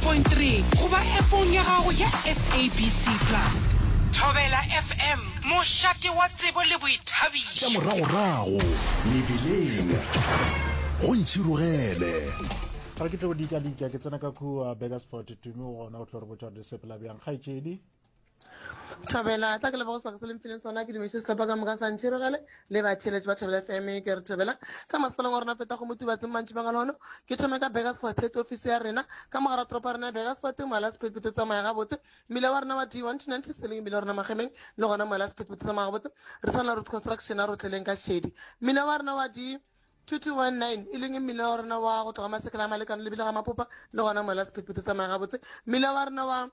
106.3 goba appong ya gago ya SABC Plus. Thobela FM, mošate wa tsebo le Tša boithabišo. moragorago mebileng go ntšhirogele. Ga ke tlo dika-dika ke tsena ka kua Burgersfort Tumi o gona o tlo re botša gore di sepela bjang kgaetšedi. Thobela, tla ke leboge sebaka se le mfileng sona ke dumediše sehlopha ka moka sa Ntšhirogele le batheeletši ba Thobela FM ke re thobela ka masepaleng wa rena feta go Motubatseng mantšibang a lehono ke thome ka Burgersfort head office ya rena ka mogara toropo ya rena ya Burgersfort moala sephethephethe o tsamaya gabotse mmila wa rena wa D1296 e leng mmila wa rena Magemeng le gona moala sephethephethe o tsamaya gabotse re sa na road construction a rotleleng ka šedi mmila wa rena wa D 2219 e leng mmila wa rena wa go tloga Masekela a Malekano lebile ga Mapopa le gona moala sephethephethe o tsamaya gabotse mmila wa rena wa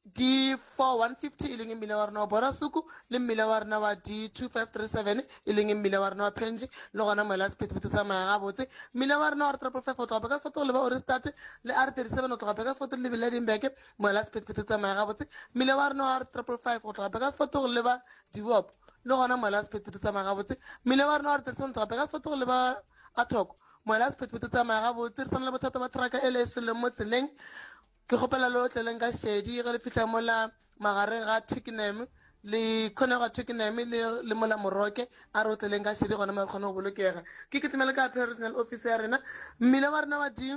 D4150 e leng mmila wa rena wa Borasuku le mmila wa rena wa D2537 e leng mmila wa rena wa Phenji le gona moela sephethephethe tsamaya gabotse. Mmila wa rena wa R555 go tloga Burgersfort go leba Ohrigstad le R37 go tloga Burgersfort le lebile Edinburgh moela sephethephethe tsamaya gabotse. Mmila wa rena wa R555 go tloga Burgersfort go leba Dewop le gona moela sephethephethe tsamaya gabotse. Mmila wa rena wa R37 go tloga Burgersfort go leba Athoko moela sephethephethe tsamaya gabotse. Re sa na le bothata ba truck e le e sweleng mo tseleng. Ke kgopela le otleleng ka šedi ge le fihla mola magareng ga Twickenham le khona ga Twickenham le le mola Moroke a re otleleng ka šedi gona mo re kgone go bolokega. Ke kitimele ka Regional Office ya rena. Mmila wa rena wa D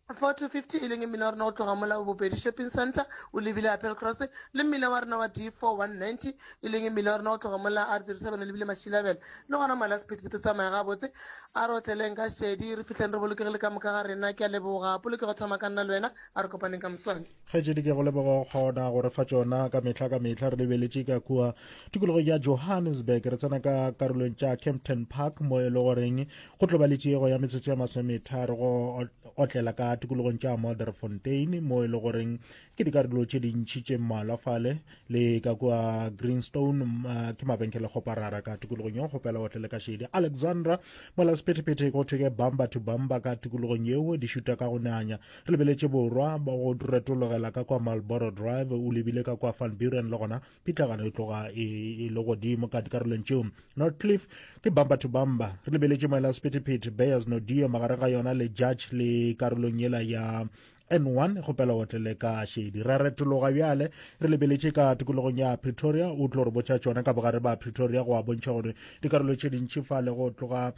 4250 e leng mmila wa rena go tloga mola Bopedi Shopping Center o lebile Apple Cross le mmila wa rena wa D 4190 e leng mmila wa rena go tloga mola R37 o lebile Mashilabela le gona mola sephethephethe tsamaya gabotse A re otleleng ka šedi, re fihleng re bolokegile ka moka ga rena. Ke a leboga. Polokego thoma ka nna le wena. A re kopaneng ka moswane. Kgaetšedi, ke go leboga go kgona go re fa tšona ka mehla ka mehla. Re lebeletše ka kua tikologong ya Johannesburg, re tsena ka karolong tša Kempton Park mo e le goreng go tlo ba le tšego ya metsotso ya masometharo go otlela ka tikologong tša Modderfontein mo e le goreng ke dikarolo tše dintši tše mmalwa fale le ka kua greenstone uh, ke mabenkele kgoparara ka tikologong yeo kgopela otle le ka šedi alexandra mola sephethephethe go thwe ke bamba to bamba ka tikologong yeo di šuta ka go nanya re lebeletše borwa go retologela ka kwa marlboro drive o lebile ka kwa van buren le gona pitlagano e tloga e, e le godimo ka dikarolong tšeo northcliff ke bamba to bamba re lebeletše moela sephethephethe bears nodio magareng ga yona le judge le karolong yela ya N1 kgopela o tlele ka šedi. Ra retologa bjale re lebeletše ka tikologong ya Pretoria, o tlo re botša tšona ka bogare ba Pretoria go a bontšha gore dikarolo tše dintši fa le go tloga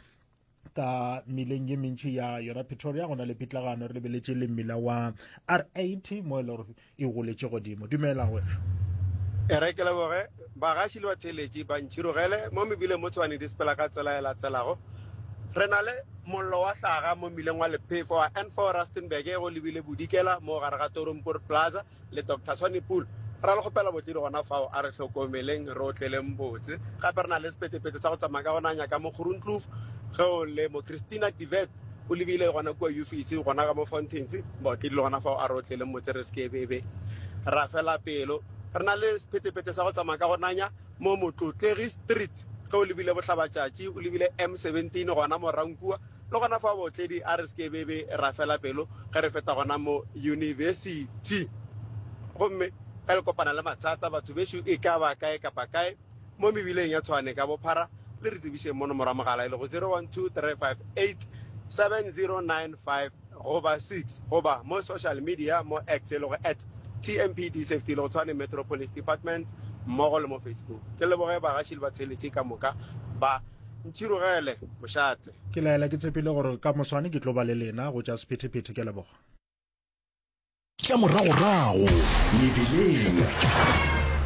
ka mmileng ye mentši ya yona Pretoria go na le pitlagano re lebeletše le mmila wa R80 mo e le gore e goletše godimo. Dumela wešo. E re ke leboge bagaši le batheeletši ba ntšhirogele mo mebileng mo Tshwane di sepela ka tsela e latelago. Re na le mollo wa hlaga mo mmileng wa lephefo wa N4 Rustenburg go lebile bodikela mo gare ga Toronpoort Plaza le Doctor Swanepoel. Ra le kgopela botledi gona fao a re hlokomeleng re otleleng botse. Gape re na le sephetephethe sa go tsamaya ka go nanya ka mo Groenkloof ge o le mo Christina Divet o lebile gona kua Ufisi gona ka mo Fountains baotledi le gona fao a re otleleng motse re se ke bebe ra fela pelo. Re na le sephetephethe sa go tsamaya ka go nanya mo Motlotlegi Street ge o lebile bohlabatšatši o lebile M17 gona mo Rankua le gona fao baotledi a re se ke bebe ra fela pelo ge re feta gona mo University. Gomme ge le kopana le mathata batho bešo e ka ba kae kapa kae mo mebileng ya Tshwane ka bophara le re tsebišeng mo nomoro ya mogala e lego 0123587095 goba 6 goba mo social media mo X e lego at TMPD Safety e lego Tshwane Metro Police Department mmogo le mo Facebook. Ke leboge bagaši le batheeletši ka moka ba ntšhirogele mošate. Ke laela ke tshepile gore ka moswane ke tlo ba le lena go tša sephethephethe. Ke a leboga. Tša moragorago mebileng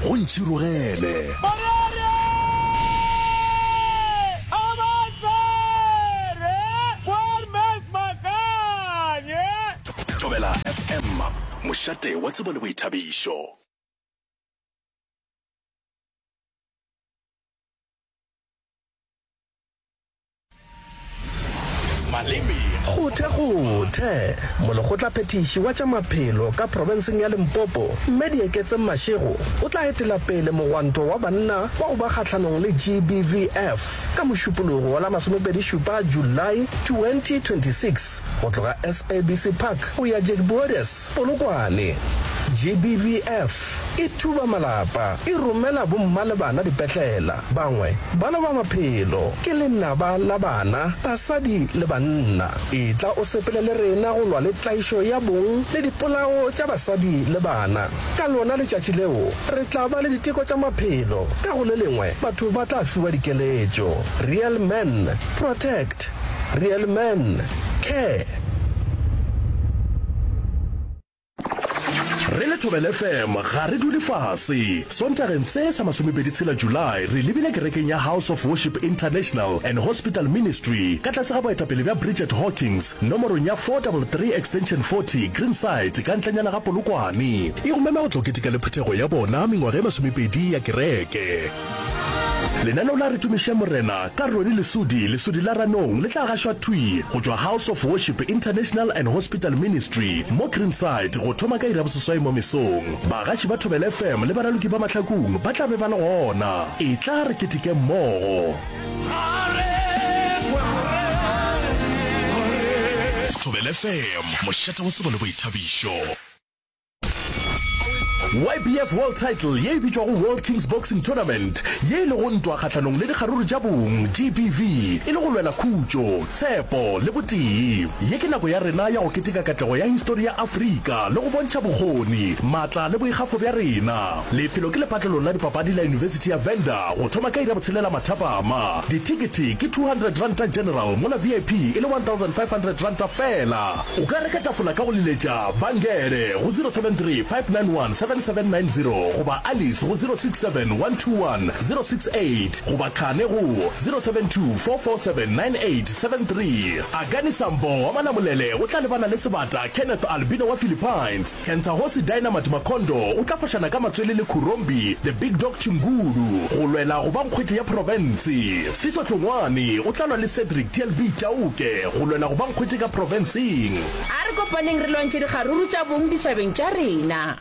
go ntšhirogele. Thobela FM, mošate wa tsebo le boithabišo. Maleme. Kgothekgothe, Molekgotlaphethiši wa tša maphelo ka profenseng ya Limpopo, Mme Dieketseng Mashego, o tla etela pele mogwanto wa banna wa go ba kgahlanong le GBVF ka Mošupologo wa la masomepedishupa Julae 2026 go tloga SABC Park go ya Jacques Boeres, Polokwane. GBVF e thuba malapa, e romela bomma le bana dipetlela, bangwe ba loba maphelo. Ke lenaba la bana, basadi le banna. Etla o sepele le rena go lwa le tlaišo ya bong le dipolao tša basadi le bana. Ka lona letšatši leo, re tla ba le diteko tša maphelo, ka go le lengwe batho ba tla fiwa dikeletšo. Real Men Protect, Real Men Care. Re le Thobela FM ga re dule fase. Sontageng se sa masomepedi tshela July re lebile kerekeng ya House of Worship International and Hospital Ministry ka tlase ga boetapele bja Bridget Hawkins nomorong ya 433 Extension 40 Greenside ka ntlenyana ga Polokwane. E go mema go tlo keteka le phuthego ya bona mengwaga e masomepedi ya kereke. Lenaneo la Re Tumiše Morena ka Ronnie Lesodi, Lesodi la Ranong, le tla gašwa thwi go tšwa House of Worship International and Hospital Ministry mo Greenside go thoma ka iri ya boseswai mo mesong. Bagaši ba Thobela FM le baraloki ba Mahlakung ba tla be ba le gona. Etla re keteke mmogo. Thobela FM, mošate wa tsebo le boithabišo. YBF World Title ye e bitšwago World Kings Boxing Tournament, ye e lego ntwa kgahlanong le dikgaruru tša bong, GBV, e le go lwela khutšo, tshepo le botee. Ye ke nako ya rena ya go keteka katlego ya histori ya Afrika le go bontšha bokgoni, maatla le boikgafo bja rena. Lefelo ke lepatlelong la dipapadi la Yunibesithi ya Venda go thoma ka iri ya botshelela mathapama. Dithekethe ke R200 General mola VIP e le R1500 feela. O ka reka tafola ka go leletša Vangele go 073 591 7790 goba Alice go 067 121 068 goba Khane go 072 447 9873. Akani Sambo wa Malamulele o tla lebana le sebata Kenneth Albino wa Philippines. Kentsahosi Dynamite Makondo o tla fošana ka matswele le Khurombi The Big Dog Chingulu go lwela go ba nkgwete ya profense. Sfiso Hlongwane o tla lwa le Cedric TLB Chauke go lwela go ba nkgwete ka profenseng. A re kopaneng re lwantšhe dikgaruru tša bong ditšhabeng tša rena.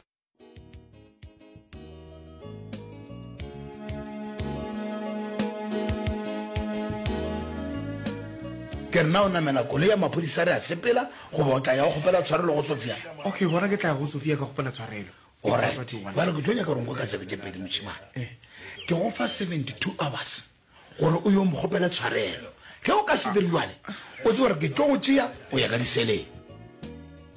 Ke re na o namela koloi ya maphodisa re a sepela goba o tla ya o kgopela tshwarelo go Sophia? Okay, gona ke tla ya go Sophia ka kgopela tshwarelo. Alright, bjale ke tlo nyaka gore nkwe ka tsebe tše pedi mošemane. Eh. Ke go fa 72 hours gore o yo mo kgopela tshwarelo. Ge o ka se dire bjale, o tsebe gore ke tlo go tšea o ya ka diseleng.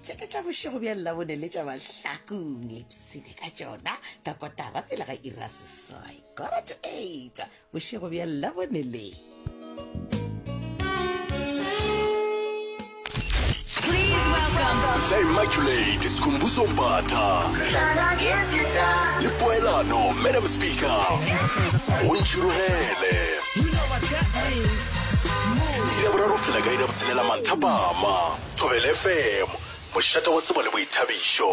Tše ke tša bošego bja Labone le tša Mahlakong, ipshine ka tšona ka kotara pele ga iri ya seswai, quarter to eight, bošego bja Labone le. The Immaculate Skhumbuzo Mbatha le Poelano Madam Speaker go Ntšhirogele iri ya boraro go fihlela ka iri ya botshelela manthapama Thobela FM mošate wa tsebo le boithabišo.